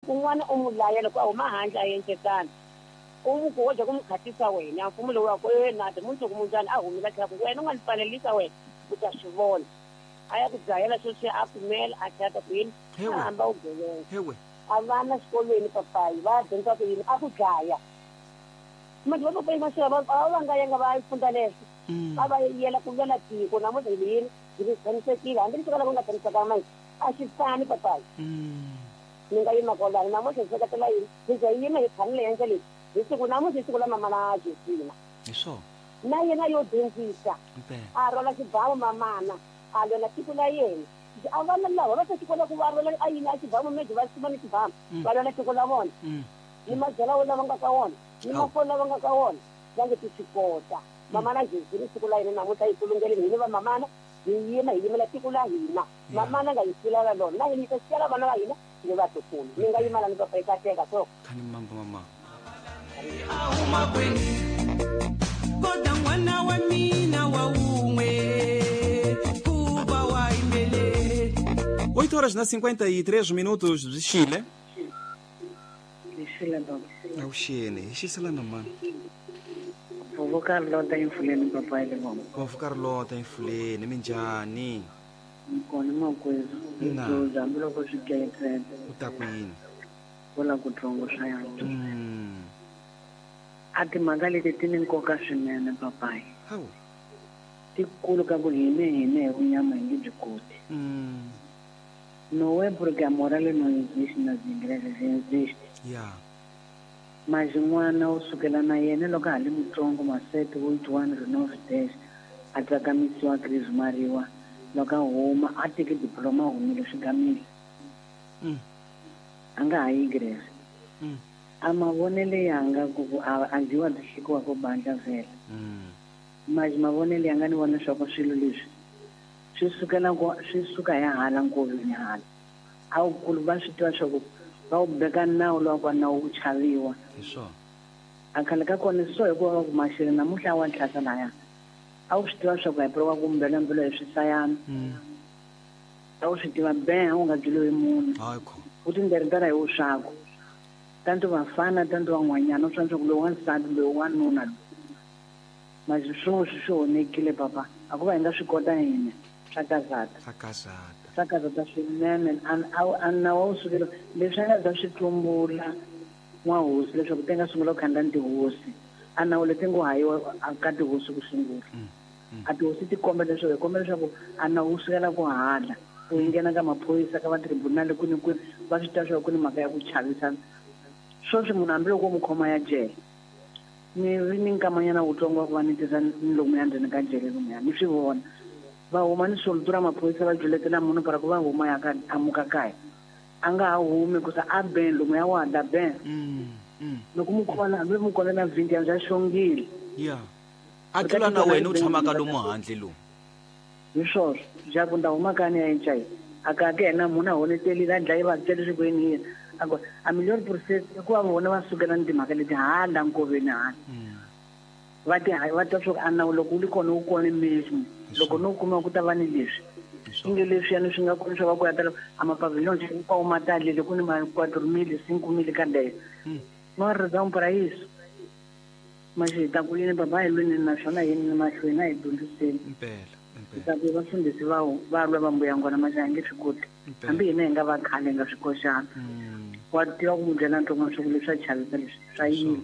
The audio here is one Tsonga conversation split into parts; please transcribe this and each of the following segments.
Kun'wana u n'wi laya loko a huma handle a endletana u n'wi ku wo dya ku n'wi khatisa wena mfumo lowu wa ku e nati mundzuku munjhani a humile a tlhela ku wena u nga ni pfalelisa wena u ta swi vona a ya ku dzahela sweswiya a pfumela a tlhela ta ku yini a hamba u gevenga a vana xikolweni papayi va ya dyondzisa ku yini a ku dlaya manje va papayi maswela va va nga yanga va yi fundza leswo a va yela ku lwela tiko namuntlha hi yini hi tshamisekile hambi leswi kalaka ku nga tshamisekanga manje a xi fani papayi Mi nga yima kwalano namuntlha hi seketela yini? Hi za hi yima hi tshamile henhla leyi hi siku namuntlha i siku la mamana Josina. Hi swona. Na yena yo dyondzisa. Impela. A rhwala xibamu mamana a lwela tiko la yena. A vana lava va ta swi kota ku va rhwala a yini a xibamu maybe va suma ni xibamu va lwela tiko la vona. Ni mabyala wo lava nga ka wona ni mafoni lava nga ka wona va nge ti swi kota. Mamana Josina siku la yena namuntlha hi kulungeleni hina va mamana hi yima hi yimela tiko la hina. Mamana nga hi siyela lona na hina hi ta siyela vana va hina ni vatukulu. Ni nga yima la ni papa yi kateka so. Khani mambo mama. Kota n'wana wa mina wa wun'we kuva wa yimbelele. 8 horas na 53 minutos byi xile. Byi xile baba. Avuxeni, hi xisela na mani? Vovo Carlota eMfuleni papa ya le Vombo. Vovo Carlota eMfuleni, minjhani? Ni kona makwerhu. Hi Na. dzuza hambiloko swi kayetsela. U ta ku yini? Vo la kutsongo swa yantswa. A timhaka leti ti ni nkoka swinene papayi. Hawu. Tikulu ka ku hine hine hi vunyama hi nge byi koti. Não é porque a moral não existe nas igrejas, existe. Ya. Mas n'wana u sukela na yena loko a ha li mutsongo masete, oito anos, nove, dez, a tsakamisiwa a crismariwa, loko a huma a teke diploma a humile swi gamile. A nga ha yi igreja. A mavonele yanga ku ku a a dyiwa byi hlekiwa ko bandla vhele. Mas mavonele yanga ni vona swa ku swilo leswi swi sukela ku swi suka hi hala nkoveni hala. A wukulu va swi tiva swa ku va wu beka nawu lowa kwa nawu wu chaviwa. Hi swona. A khale ka kona so hikuva va ku maxele namuntlha a wa tlhasa laya. A wu swi tiva swa ku hi wa ku mbelambelo hi swisayana. A wu swi tiva beha u nga byeliwi hi munhu. Hayi kho. U tinderetela hi wuswaku. Tanto vafana tanto van'hwanyana u swi tiva swa ku loyi wansati loyi wanuna loyi. Manje swoswi swi onhekile papa. A ku va hi nga swi kota hina swa kazata. Swa kazata. Swa kazata swinene. A a a nawu a wu sukela leswi a nga za swi tlumbula n'wahosi leswaku ti nga sungula ku khandla ni tihosi. A nawu leti ngo hayiwa ka tihosi ku sungula. A tihosi ti kombela leswaku hi kombela leswaku a nawu wu sukela ku hala wu nghena ka maphorisa ka va tribunal kwini kwini va swi tiva leswaku ku ni mhaka ya ku chavisa. Swoswi munhu hambiloko wo n'wi khoma ya jele Ni ri ni nkamanyana wutsongo wa ku va ni tirha ni lomuya ndzeni ka jele lomuya, ni swi vona. Va huma ni soltura maphorisa va juletela munhu para ku va huma ya ka a muka kaya. A nga ha humi hikusa a ben lomuya wa da ben. Loko mu khoma na hambi mu kona na 20 ya bya xongile. Ya. A tlula na wena u tshamaka lomu handle lomu. Hi swoswo. Jaku ni ta huma kaya ni ya eNchayina. A ka ke yena munhu a honetelile a dlaye vatswari leswi ku yini yini. A ku a million percent i ku va vona va sukela ni timhaka leti hala nkoveni hala. Va ti va twa swa ku a nawu loko wu li kona wu kona mesmo. Loko no kuma ku ta va ni leswi. Inge leswiyani swi nga kona swa va ku ya tala a mapavillon hinkwawo ma talile ku ni ma quatro mil, cinco mil ka leyo. Não há razão para isso. Mas hi ta ku yini baba a hi lweni naswona hi yeni mahlweni a hi dyondziseni. Impela, Hi ta ku vafundhisi va va lwa va mbuyangwana mas a hi nge swi koti. Hambi hina hi nga va khale hi nga swi koxanga. Wa tiva ku mu byela ntsongo swa ku leswi swa chavisa leswi swa yila.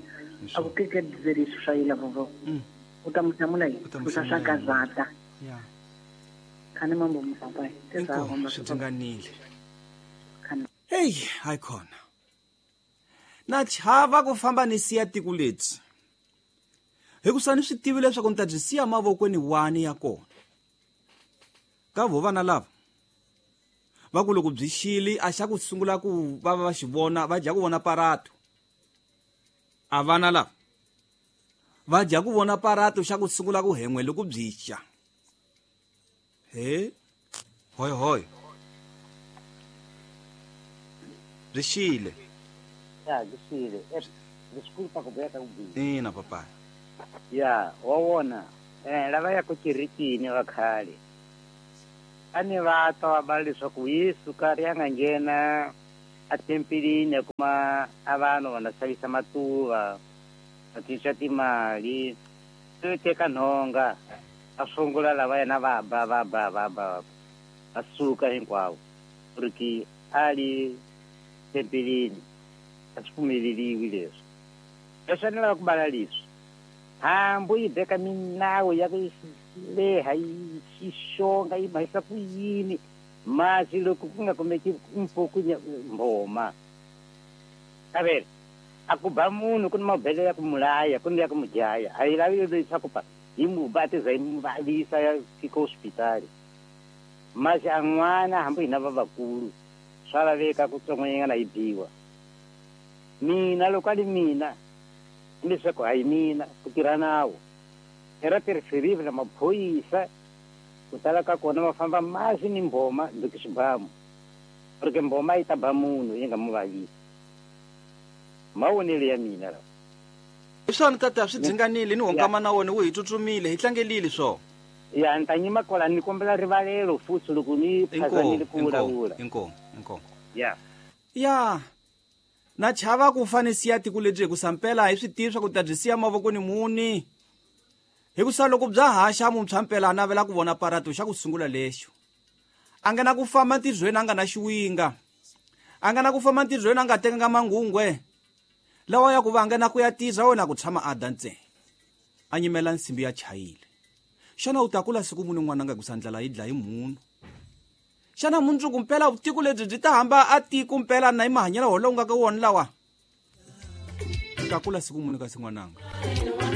A ku que quer dizer isso swa yila vovó? U ta mu hlamula yini? U ta mu Ku sa swa hlamula yini? kazata. Ya. Khani mambo mupapa. Inkomu swi dzinganile. Khani. Heyi, hayi khona. Na chava ku famba ni siya tiko lebyi, hikusa ni swi tivi leswaku ni ta byi siya mavokweni wani ya kona. Ka vo vana lava va ku loko byi xile a xa ku sungula ku va va xi vona va dya ku vona parato. A vana lava va dya ku vona parato xa ku sungula ku hen'we loko byi xa. He hoy hoy. Byi xile. Ya byi xile. Eh, disculpa ku beka ku biha. Ina papa. Ya, wa vona. Eh, lava ya ku kerekeni va khale. A ni va twa va bala leswaku Yesu ka ri a nga nghena A tempelini a kuma a vanhu va na xavisa matuva, va cinca timali, se teka nhonga, a sungula lava yena va ba va ba va ba va suka hinkwavo. Ku ri ki a li tempelini a swi pfumeleriwi leswi. Leswi a ni lava ku bala leswi, hambi yi beka minawu ya ku leha yi xonga yi mahisa ku yini, masi loko ku nga kumeki mpuku mbhoma. Kavele a ku ba munhu ku ni mabele ya ku mulaya ku ni ya ku mudlaya, a yi lavi leswaku pa yi mu ba ti za yi mu vavisa ya fika hospitali. Masi a n'wana hambi hina vavakulu swa laveka ku tsongonyana yi biwa. Mina loko a li mina leswaku hayi mina ku tirha nawu era tirhiserivi na maphorisa ku tala ka kona va famba masi ni mbhoma loko xibamu, porque mbhoma yi ta ba munhu yi nga mu vavisi. Mavonelo ya mina lawa. Hi swona tata, swi dzinganile ni honkama na wona wu hi tsutsumile, hi tlangelile swona. Ya ni ta nyima kwala, ni kombela rivalelo futhi loko ni phazamile ku vulavula. Inkomu, inkomu. Ya. Ya. Na chava ku fane siya tiko lebyi hikusa mpela hi swi tivi swa ku ta byi siya mavokweni muni. Hikusa loko bya haxa muntshwa mpela a navela ku vona parato xa ku sungula lexo. A nga na ku famba ntirhweni a nga na xiwinga. A nga na ku famba ntirhweni a nga tekanga mangungwe. Lawa ya ku va a nga na ku ya tirha wena ku tshama a da ntsena. A nyimela nsimbi ya chayile. Xana u ta kula siku muni n'wananga hikusa ndlala yi dlayi munhu? Xana mundzuku mpela vutiko lebyi byi ta hamba a tiko mpela na hi mahanyelo wolowo nga ka wona lawa? U ta kula siku muni kasi n'wananga?